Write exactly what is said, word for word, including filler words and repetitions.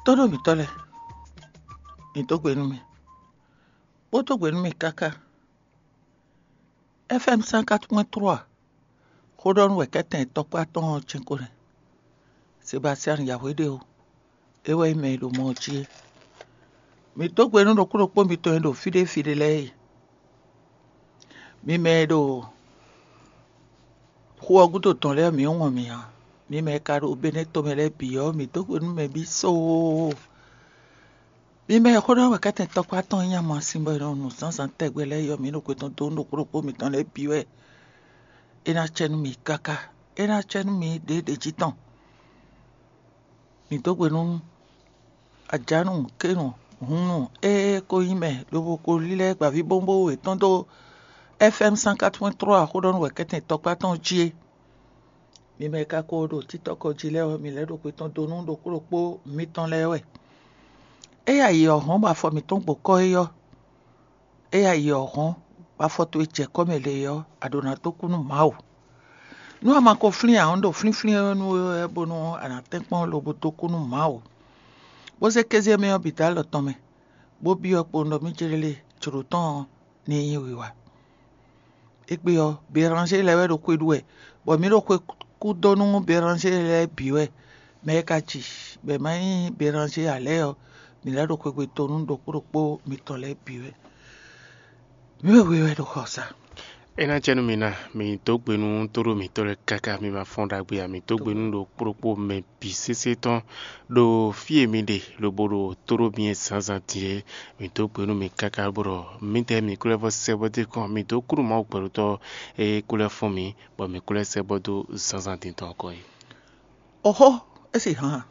Tóɖó mǐtɔn lɛ́ɛ, mǐ dó gbe nú mi, bó dó gbe nú mi káká. F M cent quatre-vingt-trois, xóɖɔnú wɛ kɛ́tɛn tɔkpá tɔn ɔ́ jɛ́n ko nɛ́. Sebastian Yahweh ɖe o, é wɛ nyí mɛ e ɖo mɔ ɔ́ jí é. Mǐ dó gbe nú ɖokpó ɖokpó mitɔn e ɖo fí ɖé fí ɖé lɛ́ɛ e. Mi mɛ e ɖo xu ɔ́ gúdo tɔn lɛ́ɛ, mǐ wɔn mì ǎ. Mi mɛ e ka ɖo Benɛ́ tomɛ lɛ́ɛ bǐ ɔ́, mǐ dó gbe nú mɛ bǐ soo. Mi mɛ e xó ɖɔ wɛ kɛ́tɛn tɔkpá tɔn nyí amasin bɔ è nɔ nu zǎnzǎn tɛgbɛ lɛ́ɛ é ɔ́, mǐ ɖo xwe tɔn dó nú ɖokpó ɖokpó mitɔn lɛ́ɛ bǐ wɛ. É ná cɛ nú mi káká, é ná cɛ nú mi ɖěɖě jí tɔn. Mǐ dó gbe nú Ajǎnu, Kénu, Hunnu e ko nyí mɛ lobo ko lílɛ́ gbǎvíbówúnbówú yětɔn dó F M cent quatre-vingt-trois xóɖɔnú wɛ kɛ́tɛn tɔkpá tɔn jí é. Mi mɛ e ka ko ɖo títɔ́ ko jí lɛ́ɛ ɔ́, mi lɛ́ ɖo xwe tɔn dó nú ɖokpó ɖokpó mitɔn lɛ́ɛ wɛ. Éyɛ́ ayǐ ɔ́ hɔn bɔ afɔ mǐtɔn gbo kɔ́ é ɔ́, éyɛ́ ayǐ ɔ́ hɔn bɔ afɔ towe jɛ kɔ́ mɛ lě ɔ́, a ɖǒ ná dó kú nú Mawu. Nú a ma ko flín ǎ, un ɖo flínflín ɔ́ nú we wɛ bónú a nǎ tɛ́nkpɔ́n lobo dó kú nú Mawu, bó zé kéze mɛ ɔ́ bǐ dó alɔ tɔn mɛ, bó byɔ́ kpowun ɖɔ mì jlé jlǒ tɔn ɔ́ ní nyí wiwa. Égbé ɔ́, Beranzé lɛ́ɛ wɛ ɖo xwe ɖu wɛ, bɔ mǐ ɖo xwe kú dó nú Beranzé lɛ́ɛ bǐ wɛ. Mɛ e ka ji bɔ è ma nyí Beranzé ǎ lɛ́ɛ ɔ́, mǐ lɛ́ ɖo xwegbe dó nú ɖokpó ɖokpó mitɔn lɛ́ɛ bǐ wɛ. Mǐ wɛ we wɛ ɖo xɔ sa. É ná jɛ nú mi ná, mi dó gbe nú tóɖó mǐtɔn lɛ́ɛ káká, mi ma fɔ́n ɖagbe ǎ. Mi dó gbe nú ɖokpó ɖokpó mɛ bǐ sésé tɔn ɖo fí e mi ɖe lobo ɖo tóɖó mi e zǎnzǎn din é. Mi dó gbe nú mi káká bó ɖɔ mǐdɛɛ mi kú lɛ́ vɔ sɛ́ bɔ dó kɔn, mi dó kú nú Mawu gbɛɖotɔ́ e kú lɛ́ fɔ́n mi, bɔ mi kú lɛ́ sɛ́ bɔ dó zǎnzǎn din tɔn kɔn é. Oxó, é sì hán a?